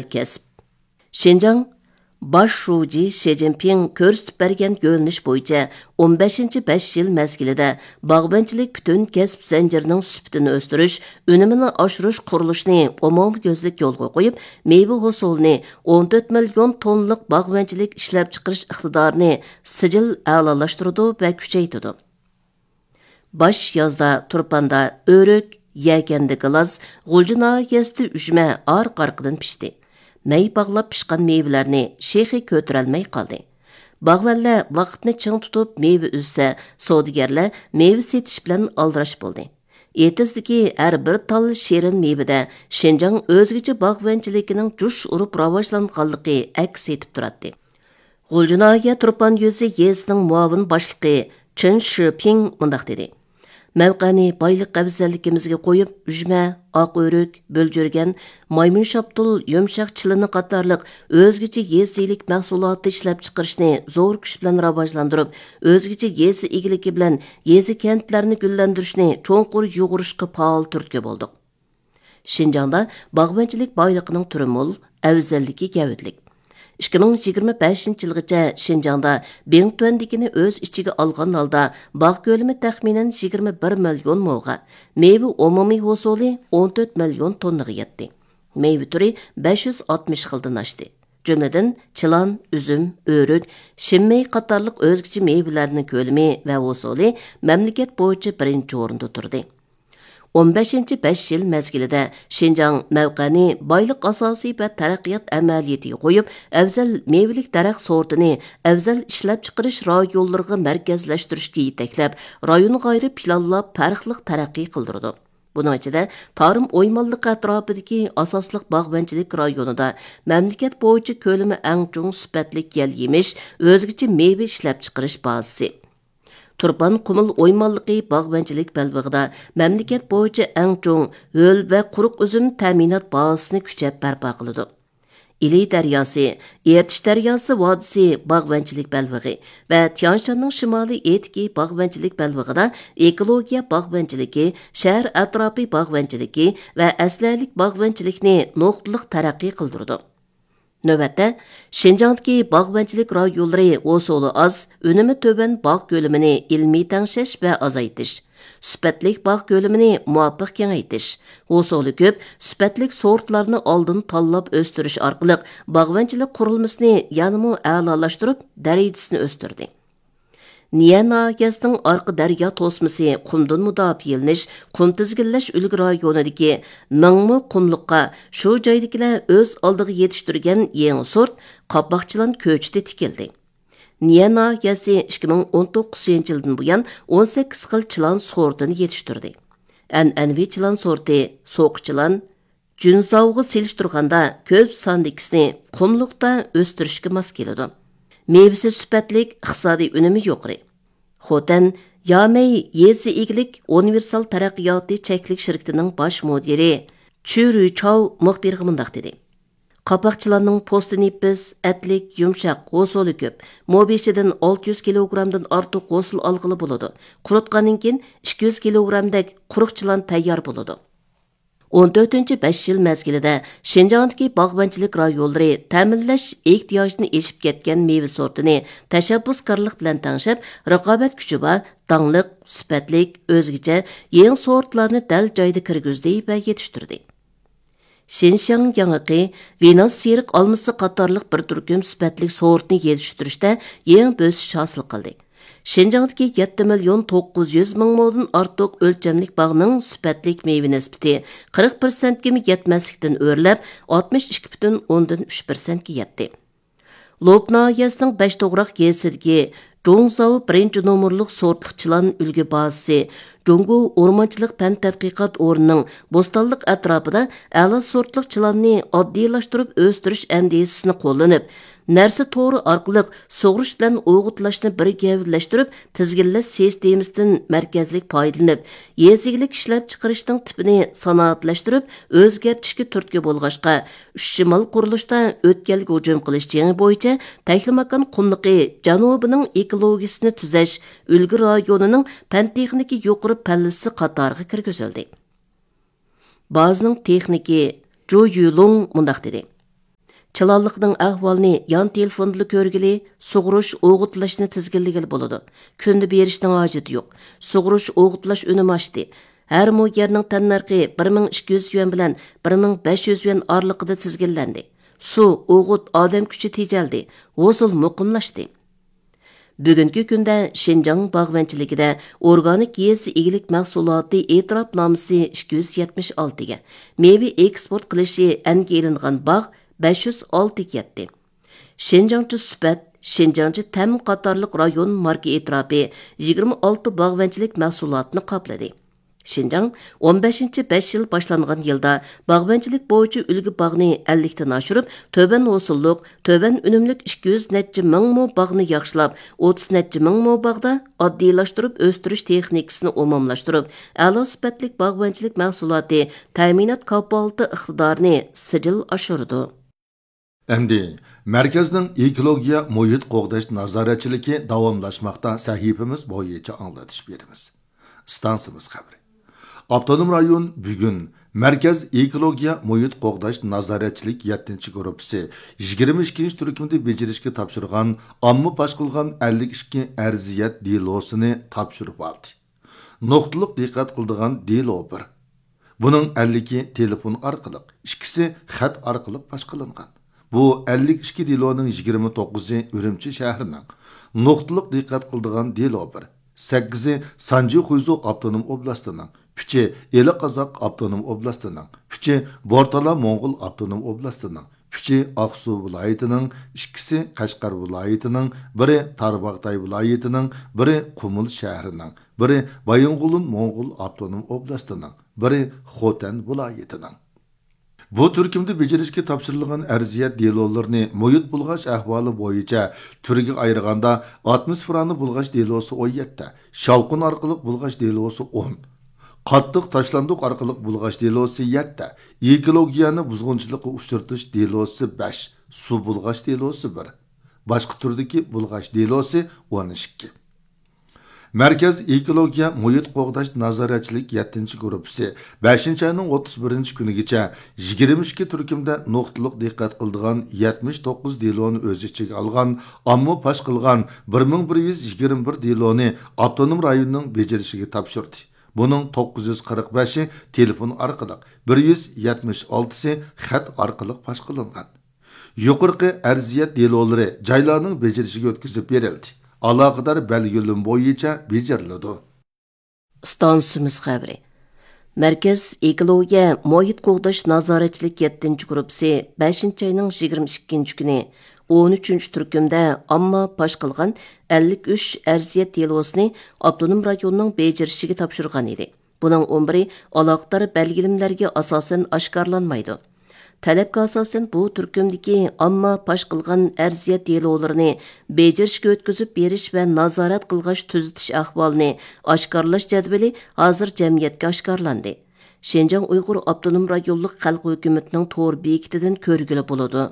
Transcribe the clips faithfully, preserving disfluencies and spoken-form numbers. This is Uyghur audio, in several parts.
كەسىپ. شىنجاڭ باش شۇجى شى جىنپىڭ كۆرسىتىپ بەرگەن يۆنىلىش بويىچە ئون بەشىنچى بەش يىل مەزگىلىدە باغۋەنچىلىك پۈتۈن كەسىپ زەنجىرىنىڭ سۈپىتىنى ئۆستۈرۈش، ئۈنۈمىنى ئاشۇرۇش قۇرۇلۇشىنى ئومۇميۈزلۈك يولغا قويۇپ، مېۋە ھوسۇلىنى، ئون تۆت مىليون توننىلىق باغۋەنچىلىك ئىشلەپچىقىرىش ئىقتىدارىنى سىجىل ئەلالاشتۇرىدۇ ۋە كۈچەيتىدۇ. باش يازدا تۇرپاندا ئۆرۈك، يەكەندە گىلاس، غۇلجا ناھىيەسىدە ئۈجمە ئارقا-ئارقىدىن پىشتى. مەي باغلاپ پىشقان مېۋىلەرنى شېخى كۆتۈرەلمەي قالدى. باغۋەنلەر ۋاقىتنى چىڭ تۇتۇپ مېۋە ئۈزسە، سودىگەرلەر مېۋە سېتىش بىلەن ئالدىراش بولدى. ئېتىزدىكى ھەر بىر تال شېرىن مېۋىدە شىنجاڭ ئۆزگىچە باغۋەنچىلىكىنىڭ جۇش ئۇرۇپ راۋاجلانغانلىقى ئەكس ئېتىپ تۇراتتى. غۇلجا ناھىيە تۇرپان يۈزى يېزىسىنىڭ مۇئاۋىن باشلىقى چېن شىپىڭ مۇنداق دېدى: مەۋقەنى بايلىق ئەۋزەللىكىمىزگە قويۇپ، ئۈجمە، ئاق ئۆرۈك، بۆلجۈرگەن، مايمۇن شاپتۇل، يۇمشاق چىلىنى قاتارلىق ئۆزگىچە يېزا ئىگىلىك مەھسۇلاتى ئىشلەپچىقىرىشنى زور كۈچ بىلەن راۋاجلاندۇرۇپ، ئۆزگىچە يېزا ئىگىلىكى بىلەن يېزا كەنتلەرنى گۈللەندۈرۈشنى چوڭقۇر يۇغۇرۇشقا پائال تۈرتكە بولدۇق. شىنجاڭدا باغۋەنچىلىك بايلىقىنىڭ تۈرى مول، ئەۋزەللىكى گەۋدىلىك. ئىككى مىڭ يىگىرمە بەشىنچى يىلغىچە شىنجاڭدا بىڭتۈەن دېگىنى ئۆز ئىچىگە ئالغان ھالدا باغ كۆلىمى تەخمىنەن يىگىرمە بىر مىليون موغا، مېۋە ئومۇمىي ھوسۇلى ئون تۆت مىليون توننىغا يەتتى. مېۋە تۈرى بەش يۈز ئاتمىش خىلدىن ئاشتى. جۈملىدىن چىلان، ئۈزۈم، ئۆرۈك، شىنمېي قاتارلىق ئۆزگىچە مېۋىلەرنىڭ كۆلىمى ۋە ھوسۇلى مەملىكەت بويىچە بىرىنچى ئورۇندا تۇردى. ئون بەشىنچى بەش يىل مەزگىلىدە شىنجاڭ مەۋقەنى بايلىق ئاساسى ۋە تەرەققىيات ئەمەلىيىتىگە قويۇپ، ئەۋزەل مېۋىلىك دەرەخ سورتىنى ئەۋزەل ئىشلەپچىقىرىش رايونلىرىغا مەركەزلەشتۈرۈشكە يېتەكلەپ، رايونغا ئايرىپ پىلانلاپ پەرقلىق تەرەققىي قىلدۇرىدۇ. بۇنىڭ ئىچىدە، تارىم ئويمانلىقى ئەتراپىدىكى ئاساسلىق باغۋەنچىلىك رايونىدا مەملىكەت بويىچە كۆلىمى ئەڭ چوڭ سۈپەتلىك يەل يېمىش، ئۆزگىچە مېۋە ئىشلەپچىقىرىش بازىسى. تۇرپان قۇمۇل ئويمانلىقى باغۋەنچىلىك بەلبېغىدا مەملىكەت بويىچە ئەڭ چوڭ ھۆل ۋە قۇرۇق ئۈزۈم تەمىنات بازىسىنى كۈچەپ بەرپا قىلىدۇ. ئىلى دەرياسى، ئېرتىش دەرياسى ۋادىسى باغۋەنچىلىك بەلبېغى ۋە تيانشاننىڭ شىمالىي ئېتىكى باغۋەنچىلىك بەلبېغىدا ئېكولوگىيە باغۋەنچىلىكى، شەھەر ئەتراپى باغۋەنچىلىكى ۋە ئەسلىھەلىك باغۋەنچىلىكنى نۇقتىلىق تەرەققىي قىلدۇرىدۇ. نۆۋەتتە، شىنجاڭدىكى باغۋەنچىلىك رايونلىرى ھوسۇلى ئاز، ئۈنۈمى تۆۋەن باغ كۆلىمىنى ئىلمىي تەڭشەش ۋە ئازايتىش، سۈپەتلىك باغ كۆلىمىنى مۇۋاپىق كېڭەيتىش، ھوسۇلى كۆپ، سۈپەتلىك سورتلارنى ئالدىن تاللاپ ئۆستۈرۈش ئارقىلىق باغۋەنچىلىك قۇرۇلمىسىنى يەنىمۇ ئەلالاشتۇرۇپ، دەرىجىسىنى ئۆستۈردى. نىيە ناھىيەسىنىڭ ئارقا دەريا توسمىسى قۇمدىن مۇداپىئەلىنىش، قۇم تىزگىنلەش ئۈلگە رايونىدىكى مىڭمۇ قۇملۇققا شۇ جايدىكىلەر ئۆز ئالدىغا يېتىشتۈرگەن يېڭى سورت قاپاق چىلان كۆچىتى تىكىلدى. نىيە ناھىيەسى ئىككى مىڭ ئون توققۇزىنچى يىلدىن بۇيان ئون سەككىز خىل چىلان سورتىنى يېتىشتۈردى. ئەنئەنىۋى چىلان سورتى سوقا چىلان، جۈنزاۋغا سېلىشتۇرغاندا كۆپ ساندىكىسىنى قۇملۇقتا ئۆستۈرۈشكە ماس كېلىدۇ. مېۋىسى سۈپەتلىك، ئىقتىسادىي ئۈنۈمى يۇقىرى. خوتەن يامەي يېزا ئىگىلىك ئۇنىۋېرسال تەرەققىياتى چەكلىك شىركىتىنىڭ باش مۇدىرى چۈ رۈيچاۋ مۇخبىرغا مۇنداق دېدى: قاپاق چىلاننىڭ پوستى نېپىز، ئەتلىك، يۇمشاق، ھوسۇلى كۆپ. مو بېشىدىن ئالتە يۈز كىلوگرامدىن ئارتۇق ھوسۇل ئالغىلى بولىدۇ. قۇرۇتقاندىن كېيىن ئىككى يۈز كىلوگرامدەك قۇرۇق چىلان تەييار بولىدۇ. ئون تۆتىنچى بەش يىل مەزگىلىدە شىنجاڭدىكى باغۋەنچىلىك رايونلىرى تەمىنلەش ئېھتىياجىدىن ئېشىپ كەتكەن مېۋە سورتىنى تەشەببۇسكارلىق بىلەن تەڭشەپ، رىقابەت كۈچى بار، داڭلىق، سۈپەتلىك، ئۆزگىچە يېڭى سورتلارنى دەل جايىدا كىرگۈزدى ۋە يېتىشتۈردى. شىنشياڭ ياڭىقى ۋېناس سېرىق ئالمىسى قاتارلىق بىر تۈركۈم سۈپەتلىك سورتنى يېتىشتۈرۈشتە يېڭى بۆسۈش ھاسىل قىلدى. شىنجاڭدىكى يەتتە مىليون توققۇز يۈز مىڭ مودىن ئارتۇق ئۆلچەملىك باغنىڭ سۈپەتلىك مېۋە نىسبىتى قىرىق پىرسەنتكىمۇ يەتمەسلىكتىن ئۆرلەپ، ئاتمىش ئىككى پۈتۈن ئوندىن ئۈچ پىرسەنتكە يەتتى. لوپ ناھىيەسىنىڭ بەش توغراق يېزىسىدىكى جۇڭزاۋ بىرىنچى نومۇرلۇق سورتلۇق چىلان ئۈلگە بازىسى، جۇڭگو ئورمانچىلىق پەن تەتقىقات ئورنىنىڭ بوستانلىق ئەتراپىدا ئەلا سورتلۇق چىلاننى ئاددىيلاشتۇرۇپ ئۆستۈرۈش ئەندىزىسىنى قوللىنىپ، نەرسە تورى ئارقىلىق سۇغۇرۇش بىلەن ئوغۇتلاشنى بىر گەۋدىلەشتۈرۈپ، تىزگىنلەش سىستېمىسىدىن مەركەزلىك پايدىلىنىپ، يېزا ئىگىلىك ئىشلەپچىقىرىشنىڭ تىپىنى سانائەتلەشتۈرۈپ ئۆزگەرتىشكە تۈرتكە بولغاچقا، ئۈچ شىمال قۇرۇلۇشتا ئۆتكەلگە ھۇجۇم قىلىش جېڭى بويىچە تەكلىماكان قۇملۇقى جەنۇبىنىڭ ئېكولوگىيىسىنى تۈزەش ئۈلگە رايونىنىڭ پەن-تېخنىكا يۇقىرى پەللىسى قاتارىغا كىرگۈزۈلدى. بازىنىڭ تېخنىكى جۇ يۈلۇڭ مۇنداق دېدى: چىلانلىقنىڭ ئەھۋالىنى يان تېلېفوندىلا كۆرگىلى، سۇغۇرۇش، ئوغۇتلاشنى تىزگىنلىگىلى بولىدۇ. كۈندە بېرىشنىڭ ھاجىتى يوق. سۇغۇرۇش، ئوغۇتلاش ئۈنۈمى ئاشتى. ھەر مو يەرنىڭ تەننەرخى بىر مىڭ ئىككى يۈز يۈەن بىلەن بىر مىڭ بەش يۈز يۈەن ئارىلىقىدا تىزگىنلەندى. سۇ، ئوغۇت، ئادەم كۈچى تېجەلدى. ھوسۇل مۇقىملاشتى. بۈگۈنكى كۈندە شىنجاڭ باغۋەنچىلىكىدە ئورگانىك يېزا ئىگىلىك مەھسۇلاتى ئېتىراپنامىسى ئىككى يۈز يەتمىش ئالتىگە، مېۋە ئېكسپورت قىلىشى ئەنگە ئېلىنغان باغ بەش يۈز ئالتىگە يەتتى. شىنجاڭچە سۈپەت، شىنجاڭچە تەم قاتارلىق رايون ماركا ئېتىراپى يىگىرمە ئالتە باغۋەنچىلىك مەھسۇلاتىنى قاپلىدى. شىنجاڭ ئون بەشىنچى بەش يىل باشلانغان يىلدا باغۋەنچىلىك بويىچە ئۈلگە باغنى ئەللىكتىن ئاشۇرۇپ، تۆۋەن ھوسۇللۇق، تۆۋەن ئۈنۈملۈك ئىككى يۈز نەچچە مىڭ مو باغنى ياخشىلاپ، ئوتتۇز نەچچە مىڭ مو باغدا ئاددىيلاشتۇرۇپ ئۆستۈرۈش تېخنىكىسىنى ئومۇملاشتۇرۇپ، ئەلا سۈپەتلىك باغۋەنچىلىك مەھسۇلاتى تەمىنات كاپالىتى ئىقتىدارىنى سىجىل ئاشۇرىدۇ. ئەمدى مەركەزنىڭ ئېكولوگىيە مۇھىت قوغداش نازارەتچىلىكى داۋاملاشماقتا سەھىپىمىز بويىچە ئاڭلىتىش بېرىمىز. ئىستانسىمىز خەۋىرى. ئاپتونوم رايون بۈگۈن مەركەز ئېكولوگىيە مۇھىت قوغداش نازارەتچىلىك يەتتىنچى گۇرۇپپىسى يىگىرمە ئىككىنچى تۈركۈمدە بېجىرىشكە تاپشۇرغان ئامما پاش قىلغان ئەللىك ئىككى ئەرزىيەت دېلوسىنى تاپشۇرۇپ ئالدى. نۇقتىلىق دىققەت قىلىدىغان دېلو بىر. بۇنىڭ ئەللىكى تېلېفون ئارقىلىق، ئىككىسى خەت ئارقىلىق پاش قىلىنغان. بۇ ئەللىك ئىككى دېلونىڭ يىگىرمە توققۇزى ئۈرۈمچى شەھىرىنىڭ، نۇقتىلىق دىققەت قىلىدىغان دېلو بىر، سەككىزى سانجى خۇيزۇ ئاپتونوم ئوبلاستىنىڭ، ئۈچى ئىلى قازاق ئاپتونوم ئوبلاستىنىڭ، ئۈچى بورتالا موڭغۇل ئاپتونوم ئوبلاستىنىڭ، ئۈچى ئاقسۇ ۋىلايىتىنىڭ، ئىككىسى قەشقەر ۋىلايىتىنىڭ، بىرى تارباغاتاي ۋىلايىتىنىڭ، بىرى قۇمۇل شەھىرىنىڭ، بىرى بايىنغولىن موڭغۇل ئاپتونوم ئوبلاستىنىڭ، بىرى خوتەن ۋىلايىتىنىڭ. بۇ تۈركۈمدە بېجىرىشكە تاپشۇرۇلغان ئەرزىيەت دېلولىرىنى مۇھىت بۇلغاش ئەھۋالى بويىچە تۈرگە ئايرىغاندا، ئاتموسفېرانى بۇلغاش دېلوسى ئون يەتتە، شاۋقۇن ئارقىلىق بۇلغاش دېلوسى ئون، قاتتىق تاشلاندۇق ئارقىلىق بۇلغاش دېلوسى يەتتە، ئېكولوگىيەنى بۇزغۇنچىلىققا ئۇچرىتىش دېلوسى بەش، سۇ بۇلغاش دېلوسى بىر، باشقا تۈردىكى بۇلغاش دېلوسى ئون ئىككى. مەركەز ئېكولوگىيە مۇھىت قوغداش نازارەتچىلىك يەتتىنچى گۇرۇپپىسى بەشىنچى ئاينىڭ ئوتتۇز بىرىنچى كۈنىگىچە يىگىرمە ئىككى تۈركۈمدە نۇقتىلىق دىققەت قىلىدىغان يەتمىش توققۇز دېلونى ئۆز ئىچىگە ئالغان ئامما پاش قىلغان بىر مىڭ بىر يۈز يىگىرمە بىر دېلونى ئاپتونوم رايوننىڭ بېجىرىشىگە تاپشۇردى. بۇنىڭ توققۇز يۈز قىرىق بەشى تېلېفون ئارقىلىق، بىر يۈز يەتمىش ئالتىسى خەت ئارقىلىق پاش قىلىنغان. يۇقىرىقى ئەرزىيەت دېلولىرى جايلارنىڭ بېجىرىشىگە ئۆتكۈزۈپ بېرىلدى. ئالاقىدار بەلگىلىمە بويىچە بېجىرىلىدۇ. ئىستانسىمىز خەۋىرى. مەركەز ئېكولوگىيە مۇھىت قوغداش نازارەتچىلىك يەتتىنچى گۇرۇپپىسى بەشىنچى ئاينىڭ يىگىرمە ئىككىنچى كۈنى ئون ئۈچىنچى تۈركۈمدە ئامما پاش قىلغان ئەللىك ئۈچ ئەرزىيەت دېلوسىنى ئاپتونوم رايوننىڭ بېجىرىشىگە تاپشۇرغان ئىدى. بۇنىڭ ئون بىرى ئالاقىدار بەلگىلىمىلەرگە ئاساسەن ئاشكارىلانمايدۇ. تەلەپكە ئاساسەن، بۇ تۈركۈمدىكى ئامما پاش قىلغان ئەرزىيەت دېلولىرىنى بېجىرىشكە ئۆتكۈزۈپ بېرىش ۋە نازارەت قىلغاچ تۈزىتىش ئەھۋالىنى ئاشكارىلاش جەدۋىلى ھازىر جەمئىيەتكە ئاشكارىلاندى. شىنجاڭ ئۇيغۇر ئاپتونوم رايونلۇق خەلق ھۆكۈمىتىنىڭ تور بېكىتىدىن كۆرگىلى بولىدۇ.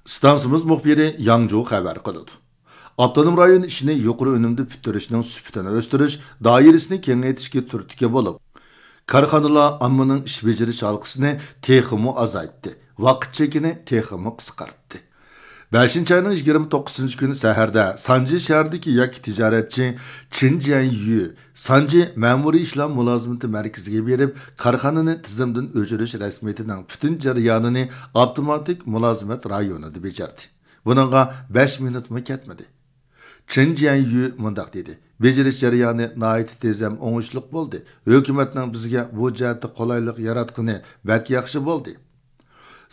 ئىستانسىمىز مۇخبىرى ياڭجۇ خەۋەر قىلىدۇ. ئاپتونوم رايون ئىشىنى يۇقىرى ئۈنۈمدە پۈتتۈرۈشنىڭ سۈپىتىنى ئۆستۈرۈش، دائىرىسىنى كېڭەيتىشكە تۈرتكە بولۇپ، كارخانىلار ئاممىنىڭ ئىش بېجىرىش ھالقىسىنى تېخىمۇ ئازايتتى، ۋاقىت چېكىنى تېخىمۇ قىسقارتتى. بەشىنچى ئاينىڭ يىگىرمە توققۇزىنچى كۈنى سەھەردە سانجى شەھىرىدىكى يەككە تىجارەتچى چېن جيەنيۈ سانجى مەمۇرىي ئىشلار مۇلازىمىتى مەركىزىگە بېرىپ، كارخانىنى تىزىمدىن ئۆچۈرۈش رەسمىيىتىنىڭ پۈتۈن جەريانىنى ئاپتوماتىك مۇلازىمەت رايونىدا بېجىردى. بۇنىڭغا بەش مىنۇتمۇ كەتمىدى. چېن جيەنيۈ مۇنداق دېدى: «بېجىرىش جەريانى ناھايىتى تېز ھەم ئوڭۇشلۇق بولدى. ھۆكۈمەتنىڭ بىزگە بۇ جەھەتتە قولايلىق ياراتقىنى بەك ياخشى بولدى.»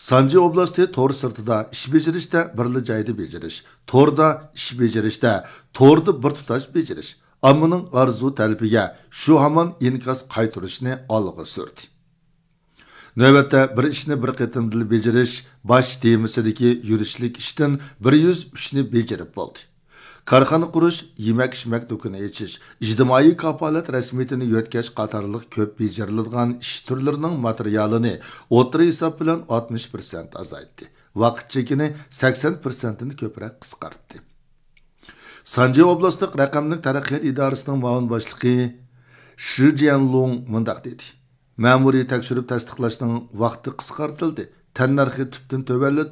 سانجى ئوبلاستى تور سىرتىدا ئىش بېجىرىشتە بىرلا جايدا بېجىرىش، توردا ئىش بېجىرىشتە توردا بىر تۇتاش بېجىرىش، ئاممىنىڭ ئارزۇ تەلىپىگە شۇ ھامان ئىنكاس قايتۇرۇشنى ئالغا سۈردى. نۆۋەتتە بىر ئىشنى بىر قېتىمدىلا بېجىرىش باش تېمىسىدىكى يۈرۈشلۈك ئىشتىن بىر يۈز ئۈچنى بېجىرىپ بولدى. كارخانا قۇرۇش، يېمەك-ئىچمەك دۇكىنى ئېچىش، ئىجتىمائىي كاپالەت رەسمىيىتىنى يۆتكەش قاتارلىق كۆپ بېجىرىلىدىغان ئىش تۈرلىرىنىڭ ماتېرىيالىنى ئوتتۇرا ھېساب بىلەن ئاتمىش پىرسەنت ئازايتتى، ۋاقىت چېكىنى سەكسەن پىرسەنتتىن كۆپرەك قىسقارتتى. سانجى ئوبلاستلىق رەقەملىك تەرەققىيات ئىدارىسىنىڭ مۇئاۋىن باشلىقى شى جيەنلۇڭ مۇنداق دېدى: «مەمۇرىي تەكشۈرۈپ تەستىقلاشنىڭ ۋاقتى قىسقارتىلدى، تەننەرخى تۈپتىن تۆۋەنلىتىلدى.»